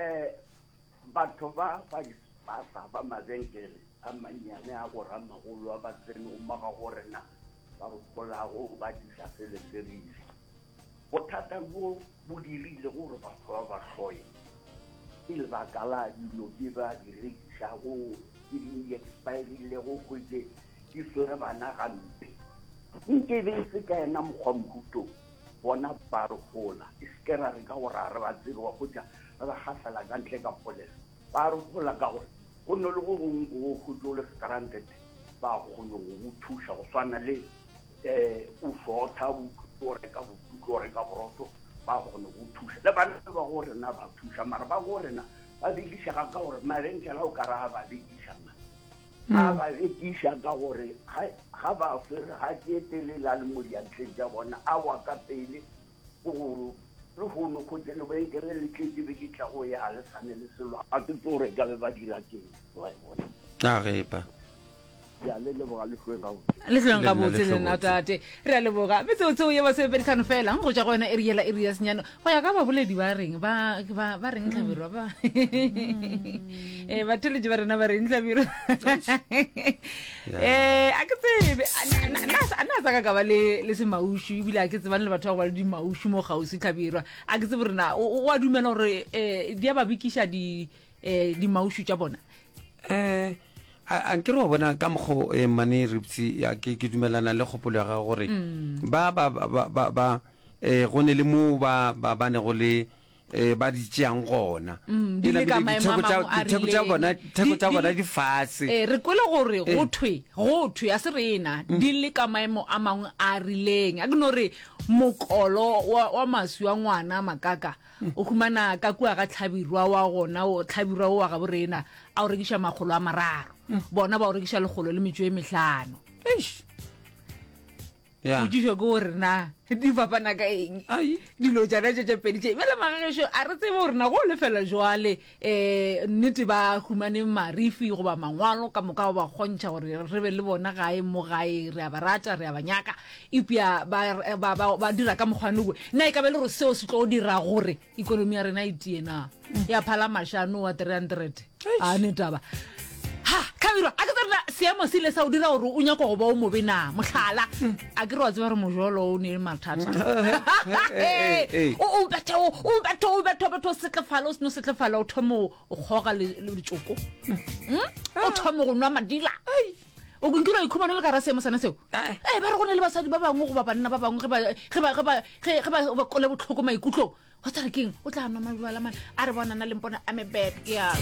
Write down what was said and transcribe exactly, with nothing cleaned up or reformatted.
um batho ba ba dispaza ba mabenkele a mannyane a go ramagolo a ba tsenego mo ga go rena ba re golago ba disa seleserisi bothata bo bo dirile gore batho ba ba hloye ke lebaka la dilo tše ba di rekišago tše di expirilego hwetše di swere bana gampe nke be e se ka yena mokgwa mohuto bona ba re gola e se ke ra re ka gore a re ba tsebe wa hwetša ba ba gafela ka ntle ka polelo ba re gola ka gore go ne le go gongwe go hwetše o le stranded ba kgone go go thuša go swana le um o shorta o reka bokutu o reka borotho ba kgone go thuša le bana ba go rena ba thuša mara ba go rena ba bekišega ka gore mabenkele o ka ra ba bekiša a ba bekiša ka gore ga ba swere ga ke telele a le mo diatleng tša bona a wa ka pele gore le gono kgotse lebenkele le tletse be ke tla go ya le sane le selo ga ke tse gore ka be ba dira keng wa e bona a gepa ya le leboga le hlweng gabotse le hlweng Le nna gabotse le le nna hlobotse. tate re a leboga metsotseo ye masomepeditlhano fela go tša go yona eri yela eri ya senyane go ya ka baboledi ba reng ba ba ba reng tlhabirwa ba um batheletši ba rena ba reng tlhabirwa um a ke tsebe a na- na- na a na sa ka ka ba le le semaušu ebile a ke tsebane le batho ba go ba le dimaušu mo kgauswi tlhabirwa a ke tsebe rena o a dumela gore um di a ba bekiša di um dimaušu tša bona um a nke re wa bona ka mokgo eh, mane ripsy ya ke ke dumelana le kgopolo ya gago gore ba ba ba ba ba ba eh go ne le mo ba ba ba nego le eh ba di tšeang gona Mm, di E le ka namile maemo a ditheko tša- mangwe a ditheko tša rileng. bona ditheko Di- tša di- bona di fase Eh, re kwele gore Eh. go thwe go thwe a se rena di le ka maemo a mangwe a rileng a ke no re mokolo wa, wa maswi wa ngwana makaka o humana ka kua ga tlhabirwa wa gona o tlhabirwa o wa gabo rena a o rekiša makgolo a mararo bona ba o rekiša lekgolo le metšo e mehlano Eish. ya potšišo ke gore na di fapana ka eng ai dilo tšana tše tše pedi tše bjale magagešo a re tsebe gore na go lefela jwale um nnete ba humane marifi goba mangwalo ka moka go ba kgontšha gore re be le bona gae mo gae re a ba rata re a ba nyaka epja ba, ba, ba, ba dira ka mokgwane owe nna e ka be le gore seo se tlo dira gore ikonomi ya rena e tie na ya phala mašano wa three hundred a ne taba ha tlhabirwa a ke tsere seemo se ile sa o dira gore o nyaka go ba o mobe na mohlala a ke re wa tseba gore mojolo o ne le mathata eh, eh. o o bethe o o bethe o bethe o bethe o setlefala o seno setlefala o thome o o kgoga le- le letšoko Mm? o thome go nwa madila o nkile wa ikhumana le ka ra seemo sona seo Ai. ee ba re go ne le basadi ba bangwe goba banna ba bangwe ge ba- ge ba- ge ba- ge- ge ba ba kole botlhoko maikutlong wa tsare keng o tla nwa mabjala mane a re bonana le mpona ame bad ke ya